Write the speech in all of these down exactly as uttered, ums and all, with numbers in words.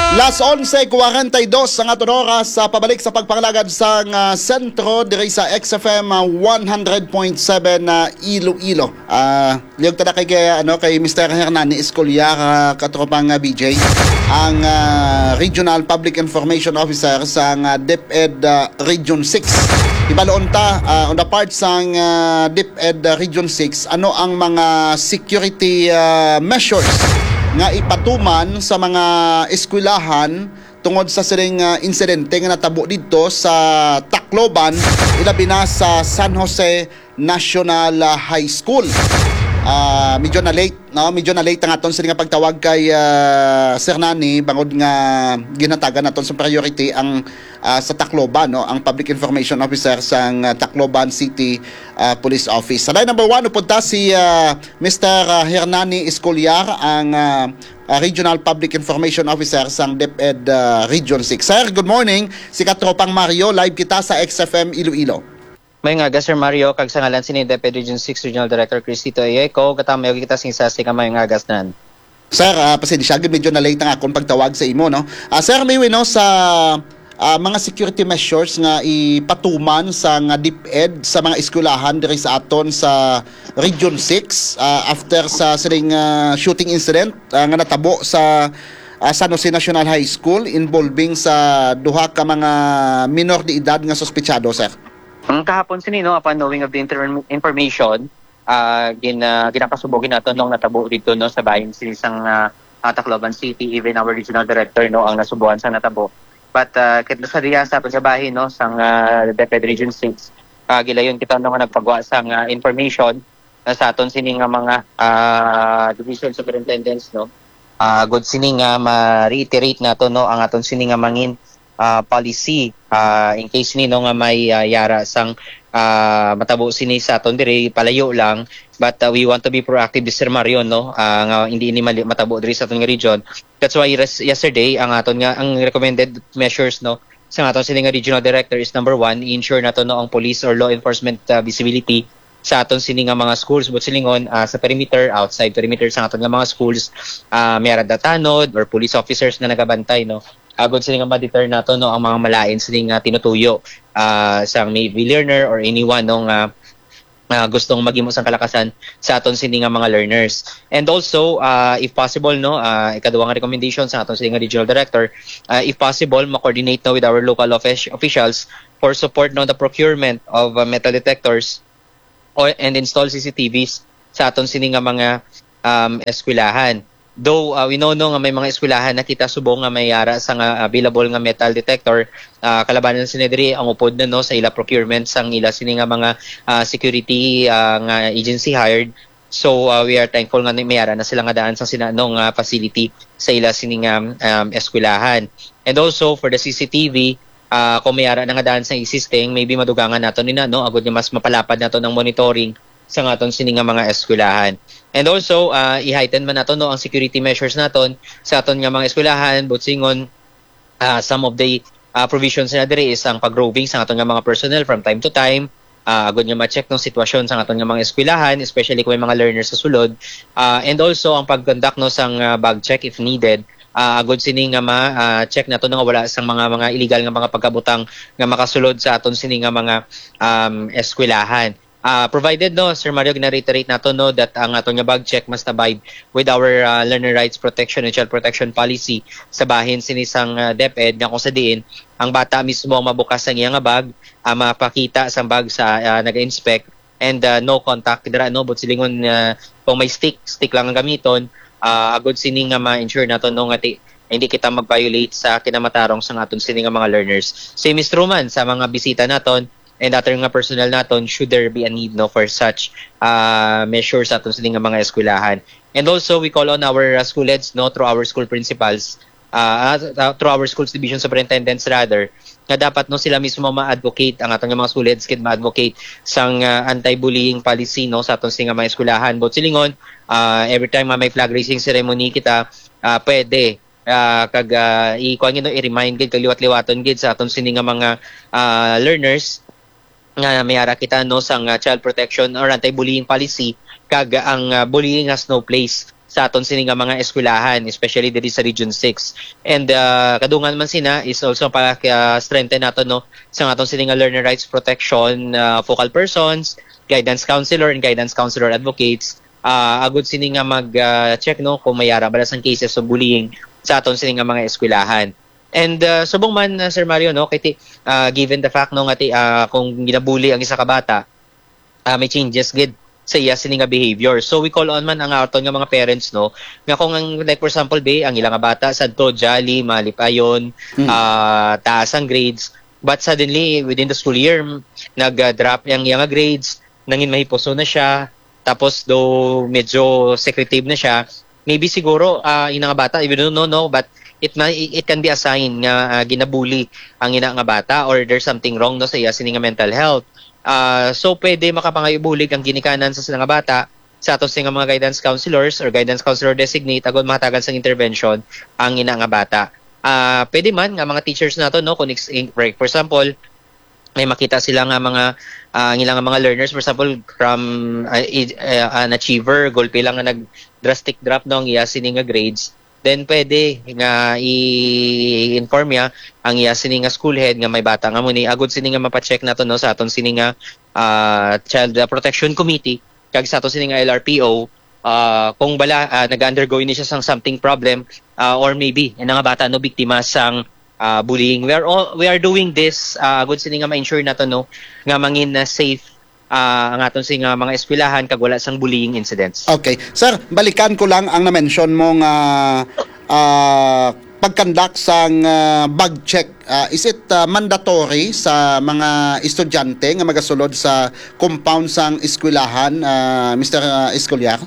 Las onse cuarenta y dos ang aton oras sa pabalik sa pagpangalagad sang, ah, sentro diri sa X F M, ah, one hundred point seven, ah, Iloilo. Ah, liog ta na kay, kay, ano, kay Mister Hernani Escolia, ah, katropang, ah, B J, ang, ah, Regional Public Information Officer sang, ah, DepEd, ah, Region six. Ibaloon ta, ah, on the part sang, ah, DepEd, ah, Region six, ano ang mga security, ah, measures nga ipatuman sa mga eskwelahan tungod sa sining, ah, insidente nga natabo didto sa Tacloban, ilabi na sa San Jose National, ah, High School. Ah, medyo na late, no? Medyo na late ang aton sini nga pagtawag kay, ah, Sir Nani, bangod nga ginhatagan naton sa priority ang, ah, sa Tacloban, no? Ang Public Information Officer sang, ah, Tacloban City, ah, Police Office. Sa line number one, upod ta si, ah, Mister, ah, Hernani Escolar, ang, ah, ah, Regional Public Information Officer sang DepEd, ah, Region six. Sir, good morning. Si Katropang Mario, live kita sa X F M Iloilo. May nga, Sir Mario, kag sa ngalan sini DepEd Region six Regional Director Cristito Ayeco, katamay kita sing sasi ka may nga gasnan. Sir, ah, pasensya, gid medyo na late ang akong pagtawag sa imo, no? Ah, Sir, may wino sa, ah, mga security measures nga ipatuman sa nga DepEd sa mga eskwelahan diri sa aton sa Region six, ah, after sa sining, ah, shooting incident, ah, nga natabo sa, ah, San Jose National High School involving sa duha ka mga minor de edad nga suspetsado, sir? Ang kahapon sini, no, upon knowing of the inter-, information, ah, gin-, ah, ginakasubo gid naton nung natabo dito, no, sa bahin sini sang, ah, ah, Tacloban City, even our regional director, no, ang nasubuan sa natabo. But, ah, kit sa diya sa pagsabahin, no, sang, ah, DepEd Region six, ah, gilayon kita, no, nga nagpagwa sang, ah, information na sa aton sini nga mga, ah, division superintendents, no. Ah, agud sini nga ma-reiterate nato, no, ang aton sini nga mangin, ah, policy, ah, in case ni, no, nga may, ah, yara sang, ah, matabo sini sa aton diri, palayo lang. But, ah, we want to be proactive, Sir Mario, no, ah, nga hindi ini mali-, matabo diri sa aton nga region. That's why res-, yesterday, ang aton nga, ang recommended measures, no, sa aton sini nga regional director is, number one, i-ensure nato, no, ang police or law enforcement, ah, visibility sa aton sini nga mga schools, but silingon, ah, sa perimeter, outside perimeter sa aton nga mga schools, ah, may ara datanod or police officers nga nagabantay, no? Agod sini nga ma-deter nato, no, ang mga malain sini nga tinutuyo, ah, sang maybe learner or anyone, no, nga, ah, gustong maghimo sang kalakasan sa aton sini nga mga learners. And also, ah, if possible, no, ah, ikaduha nga recommendation sa aton sini nga regional director, ah, if possible, ma-coordinate, no, with our local offic-, officials for support, no, the procurement of, ah, metal detectors or, and install C C T Vs sa aton sini nga mga, um, eskwelahan. Though, uh, we know, no, nga may mga eskwelahan na kita subong nga may ara sa nga available nga metal detector, ah, kalabanan sini diri ang upod na, no, sa ila procurement sang ila sini nga mga, ah, security, ah, nga agency hired. So, uh, we are thankful nga may ara na sila nga daan sang sina, no, nga facility sa ila sini nga, um, eskwelahan. And also for the C C T V, ah, kung may ara na nga daan sang existing, maybe madugangan naton nina, no, agud nga mas mapalapad naton ang monitoring sa aton sini nga mga eskwelahan. And also, ah, i-heighten man naton, no, ang security measures naton sa aton nga mga eskwelahan, but silingon, ah, some of the, ah, provisions na diri is ang pag-roving sa aton nga mga personnel from time to time, ah, agud nga ma-check, no, sitwasyon sa aton nga mga eskwelahan, especially kung may mga learners sa sulod, ah, and also ang pag-conduct, no, sang, ah, bag check if needed, ah, agud sini nga ma, ah, check nato, no, nga wala sang mga, mga illegal nga mga pagkabutang nga makasulod sa aton sini nga mga, um, eskwelahan. Ah, provided, no, Sir Mario, gina-reiterate nato, no, that ang aton nga bag check must abide with our, ah, learner rights protection and child protection policy sa bahin sini sang, ah, DepEd, nga kung sa diin ang bata mismo ang mabukas ang iya nga bag, ah, mapakita sang bag sa, ah, nag-inspect, and, ah, no contact dira, no, but silingon, ah, kung may stick, stick lang ang gamiton, ah, agud sini nga ma-ensure nato, no, nga ti-, hindi kita mag-violate sa kinamatarong sa aton sini nga mga learners. Same is true man sa mga bisita naton and other nga personnel naton should there be a need, no, for such, ah, measures sa aton sini nga mga eskwelahan. And also, we call on our, ah, school heads, no, through our school principals, ah, ah, through our schools division superintendents rather, nga dapat, no, sila mismo ma-advocate, ang aton nga mga school heads gid ma-advocate sang, ah, anti-bullying policy, no, sa aton sini nga mga eskwelahan. But silingon, ah, every time nga may flag raising ceremony kita, ah, pwede, ah, kag, ah, i-, kuwan gid, no, i-remind gid kag liwat-liwaton gid sa aton sini nga mga, ah, learners nga may ara kita, no, sang, ah, child protection or anti-bullying policy, kag ang, ah, bullying has no place sa aton sini nga mga eskwelahan, especially diri sa Region six. And, ah, kadungan man sina is also pa, ah, strengthen nato, no, sa aton sini nga learner rights protection, ah, focal persons, guidance counselor, and guidance counselor advocates, ah, agud sini nga mag, ah, check, no, kung may ara ba sang cases of bullying sa aton sini nga mga eskwelahan. And, ah, subong man, ah, Sir Mario, no, kay ti, ah, given the fact, no, nga ti, ah, kung ginabuli ang isa ka bata, ah, may changes gid sa iya sini nga behavior. So we call on man ang aton nga mga parents, no, nga kung ang, like, for example, be, ang ila nga bata sadto jolly, malipayon, Mm. ah, taas ang grades, but suddenly within the school year, m-, nag-drop ang iya nga grades, nangin mahipuso na siya, tapos do medyo secretive na siya, maybe siguro, ah, ina nga bata, we don't know, no, but it ma-, it can be a sign nga, ah, ginabuli ang ina nga bata or there's something wrong, no, sa iya sini nga mental health. Ah, so pwede makapangayo bulig ang ginikanan sa sila nga bata sa aton sini nga mga guidance counselors or guidance counselor designate agud mahatagan sang intervention ang ina nga bata. Ah, pwede man nga mga teachers nato, no, kung ex-, in-, for example, may makita sila nga mga, ah, ang ila nga mga learners, for example, from, ah, i-, ah, an achiever, gulpi lang nga nag drastic drop, no, ang iya sini nga grades, then pwede nga i-inform niya ang iya sini nga school head nga may bata nga muni, agud sini nga mapacheck nato, no, sa aton sini nga, ah, Child, ah, Protection Committee kag sa aton sini nga L R P O, ah, kung bala, ah, nag-undergo ini siya sang something problem, ah, or maybe ina nga bata, no, biktima sang, ah, bullying. We are all, we are doing this, ah, agud sini nga ma-ensure nato, no, nga mangin, ah, safe, ah, ang aton sini nga mga eskwelahan kag wala sang bullying incidents. Okay. Sir, balikan ko lang ang na-mention mo nga, ah, pag-conduct sang, ah, bag check. Ah, is it, ah, mandatory sa mga estudyante nga magasulod sa compound sang eskwelahan, ah, Mister, ah, Escolar?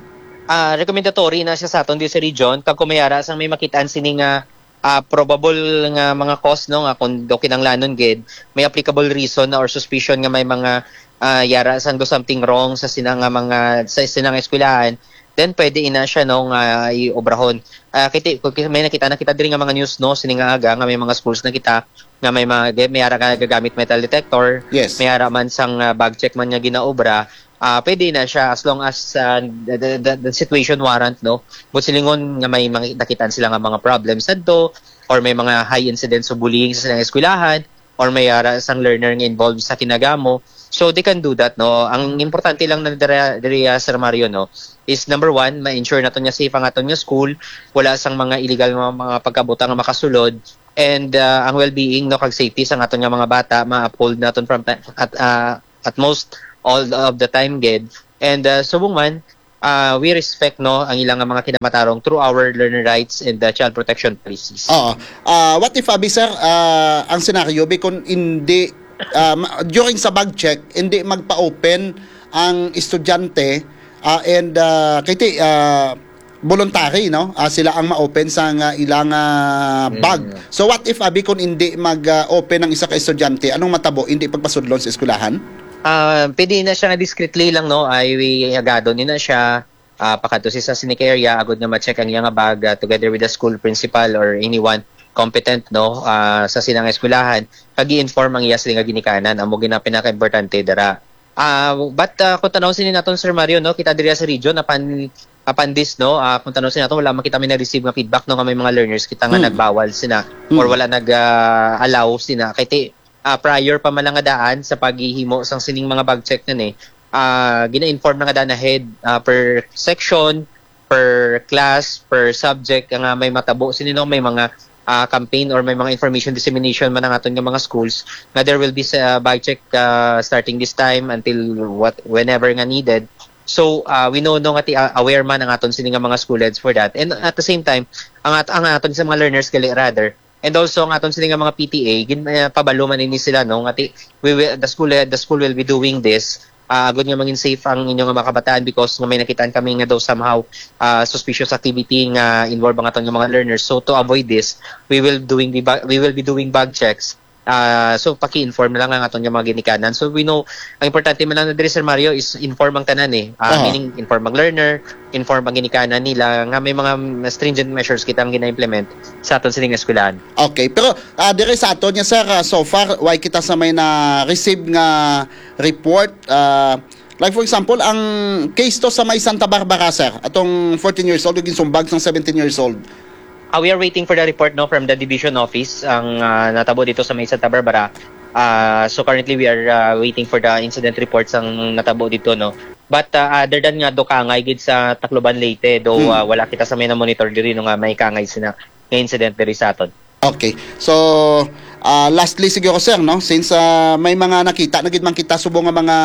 Ah, recommendatory na siya sa aton di sa region. Kag kung may ara sang may makitaan sini nga, ah, probable nga mga cause, no, nga kung daw kinahanglanon gid, may applicable reason na or suspicion nga may mga, ah, yara sang do something wrong sa sina nga mga, sa sina nga eskwelahan, then pwede ina siya, no, nga iobrahon. Ah, kiti-, kung ki-, may nakita, nakita diri nga mga news, no, sini nga aga nga may mga schools nakita nga may mga, may ara ka gagamit metal detector, Yes. may ara man sang, ah, bag check man nga ginaobra, ah, pwede na siya as long as, ah, the, the, the, the situation warrant, no? But silingon nga may mga nakitaan sila nga mga problems sadto, or may mga high incidence of bullying sa silang eskwelahan, or may ara sang learner nga involved sa kinagamo, so they can do that, no? Ang importante lang na dira, diri, ah, Sir Mario, no, is number one, ma-ensure naton nga safe ang aton nga school, wala sang mga illegal nga mga pagkabutang nga makasulod, and, ah, ang well-being, no, kag safety sang aton nga mga bata ma-uphold naton from ti-, at, ah, at most all of the time gid. And, ah, subong man, ah, we respect, no, ang ilang nga mga kinamatarong through our learner rights and the child protection policies. Oo. Ah, what if, abi, sir, ah, ang senaryo, bi, kung hindi, ah, ma-, during sa bag check, hindi magpa-open ang estudyante, ah, and, ah, kay ti, ah, voluntary, no? Ah, sila ang ma-open sa nga ilang, ah, bag. Mm. So, what if, abi, kung hindi mag, ah, open ang isa ka estudyante? Anong matabo? Hindi pagpasudlon sa eskwelahan? Ah, pwede na siya nga discreetly lang, no? Ay, agadon ni na siya, ah, pakadto sa sini ka area, agud nga ma-check ang iya nga bag, ah, together with the school principal or anyone competent, no, ah, sa silang eskwelahan, kag i-inform ang iya sila nga ginikanan. Amo gid ang pinaka-importante dira. Ah, but, ah, kung tanaw sini naton, Sir Mario, no, kita diri sa region, apan, apan this, no, ah, kung tanaw sini naton, wala man kita may na-receive nga feedback, no, nga may mga learners kita nga Hmm. nagbawal sina or Hmm. wala nag, ah, allow sina. Kay ti, ah, prior pa man lang nga daan sa paghihimo sang sining mga bag check na ni, ah, gina-inform na nga daan ahead, ah, per section, per class, per subject, nga may matabo sini, no, may mga, ah, campaign or may mga information dissemination man ang aton nga mga schools nga there will be sa bag check, ah, starting this time until what, whenever nga needed. So, ah, we know, no, nga ti, ah, aware man ang aton sini nga mga school heads for that. And at the same time, ang at-, ang aton sa mga learners gali rather, and also ang aton sini nga mga P T A, gin-, ah, pabalo man ini sila, no, nga ti, we will, the school, the school will be doing this, ah, agud nga mangin safe ang inyo nga mga kabataan because nga may nakitaan kami nga daw somehow, ah, suspicious activity nga involved ang aton nga mga learners. So to avoid this, we will doing the ba-, we will be doing bag checks. Ah, so paki-inform na lang ang aton nga mga ginikanan. So we know, ang importante man lang na diri, Sir Mario, is inform ang tanan eh. Ah, Aha. meaning inform ang learner, inform ang ginikanan nila nga may mga stringent measures kita ang gina-implement sa aton sining eskwelahan. Okay, pero, ah, diri sa aton nga, sir, ah, so far, way kita sa may na-receive nga report, ah, Like for example, ang case to sa may Santa Barbara, sir, atong fourteen years old, ug ginsumbag sang seventeen years old. Uh, we are waiting for the report, no, from the division office, ang uh, natabo dito sa may Santa Barbara. Uh, so currently we are uh, waiting for the incident reports ang natabo dito, no. But uh, other than nga do kaangay gid sa Tacloban, Leyte, though Hmm. uh, wala kita sa may na-monitor diri, no, nga may kaangay sina nga incident diri sa aton. Okay. So, ah, lastly siguro, sir, no, since ah, may mga nakita na gid man kita subong nga mga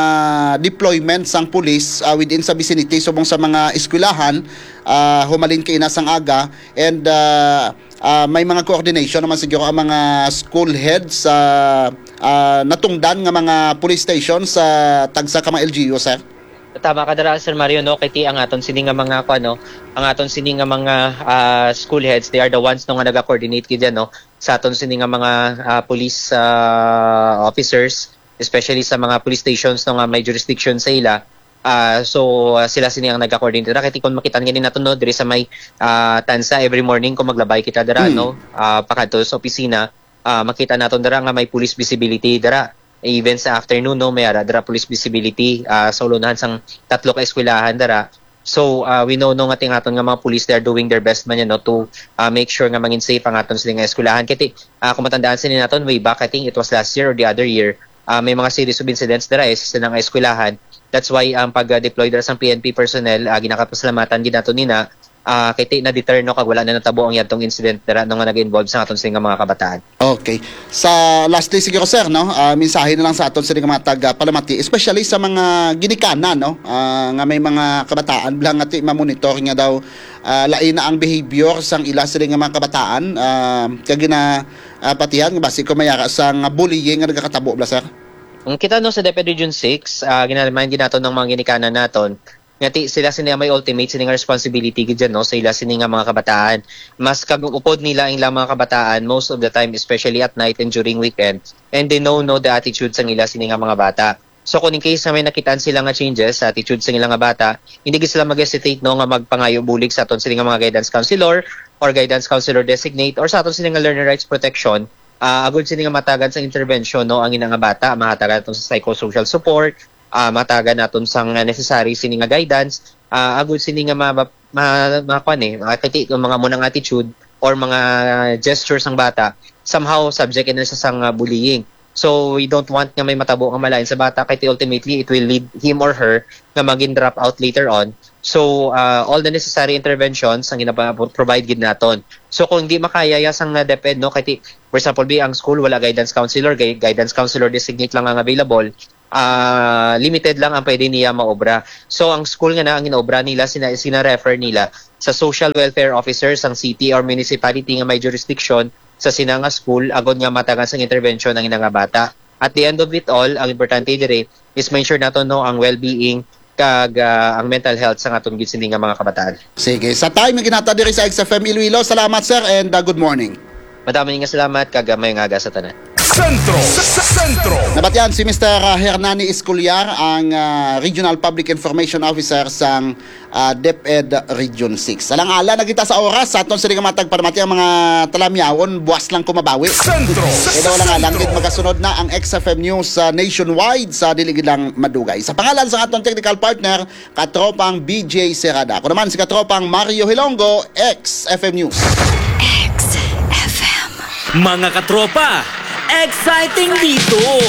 deployment sang pulis ah, within sa vicinity subong sa mga eskwelahan, ah, humalin kaina sang aga, and ah, ah, may mga coordination naman siguro ang mga school heads sa ah, natungdan nga mga police station sa tagsa ka mga L G U, sir. Tama ka dira, Sir Mario, no, kay ti ang aton sini nga mga kuan, no, ang aton sini nga mga ah, school heads, they are the ones, no, nga naga-coordinate gid yan, no, sa aton sini nga mga ah, police ah, officers, especially sa mga police stations, no, nga may jurisdiction sa ila. Ah, so ah, sila sini ang naga-coordinate dira, kay ti kung makita gani nato, no, diri sa may ah, tansa, every morning kung maglabay kita dira, Hmm. no, ah, pakadto sa opisina, ah, makita naton dira nga may police visibility dira. Even sa afternoon, no, may ara dira police visibility ah, sa ulunahan sang tatlo ka eskwelahan dira. So uh, we know, no, nga ting aton nga mga police, they are doing their best man yan, no, to uh, make sure nga mangin safe ang aton sila nga eskwelahan. Kay ti, uh, kung matandaan sila naton way back, I think it was last year or the other year, uh, may mga series of incidents dira eh, sa silang eskwelahan. That's why ang pag-deploy dira sang P N P personnel, uh, ginakapasalamatan gid nato nina, uh, kay ti na-deter, no, kag wala na natabo ang yadtong incident dira, no, nga nag-involve sa aton sila nga mga kabataan. Okay. Sa lastly siguro, sir, no, ah, mensahe na lang sa aton sa mga taga Palamati, especially sa mga ginikanan, no, ah, nga may mga kabataan bala nga ti mamonitor nga daw ah, lain na ang behavior sang ila sila nga mga kabataan, ah, kag gina ah, patihan nga basi ko mayara sang bullying nga nagakatabo bala, sir. Ang kita, no, sa DepEd Region six, uh, ginaremind gid naton ng mga ginikanan naton nga ti sila sini ang may ultimate sini nga responsibility gid dyan, no, sa ila sini nga mga kabataan. Mas kag upod nila ang ilang mga kabataan most of the time, especially at night and during weekend, and they know, no, the attitude sang ila sini nga mga bata. So kung in case nga may nakitaan sila nga changes sa attitude sang ila nga bata, hindi gid sila mag-hesitate, no, nga magpangayo bulig sa aton sini nga mga guidance counselor or guidance counselor designate or sa aton sini nga learner rights protection, ah, agud sini nga matagan sa intervention, no, ang ina nga bata, mahatagan naton sa psychosocial support, ah, matagan naton sang necessary sini nga guidance, ah, agud sini nga ma, ma, ma, kuwan eh, makakita kung mga munang attitude or mga gestures sang bata, somehow subject na sa sang ah, bullying. So we don't want nga may matabo nga malain sa bata kay ultimately it will lead him or her nga maging drop out later on. So uh, all the necessary interventions ang gina-provide gid naton. So kung di makaya ya sang uh, DepEd, no, kay ti, for example, bi ang school wala guidance counselor, gui- guidance counselor designate lang ang available, ah limited lang ang pwede niya maobra. So ang school nga na ang ginaobra nila sina sina-refer nila sa social welfare officer sang city or municipality nga may jurisdiction sa sina nga school agod nga matagan sang intervention ang ina nga bata. At the end of it all, ang importante diri is ma-ensure nato, no, ang well-being kag ah, ang mental health sa aton gid sini nga mga kabataan. Sige, sa time nga ginhatag diri sa X F M Iloilo, salamat, sir, and ah, good morning. Madamo nga salamat kag ah, may nga aga sa tanan. Sentro. Sentro. Nabatian si Mister Hernani Escolar, ang ah, Regional Public Information Officer sang ah, DepEd Region six. Alang-ala na kita sa oras, sa aton sila nga matag palamati ang mga talamyawon, buwas lang kumabawi. Sentro. Kaya wala nga lang gid, magasunod na ang X F M News sa nationwide sa dili gid lang madugay. Sa pangalan sa aton technical partner, katropang B J Serrada. Ako naman si katropang Mario Hilongo, X F M News. X F M. Mga katropa, exciting dito!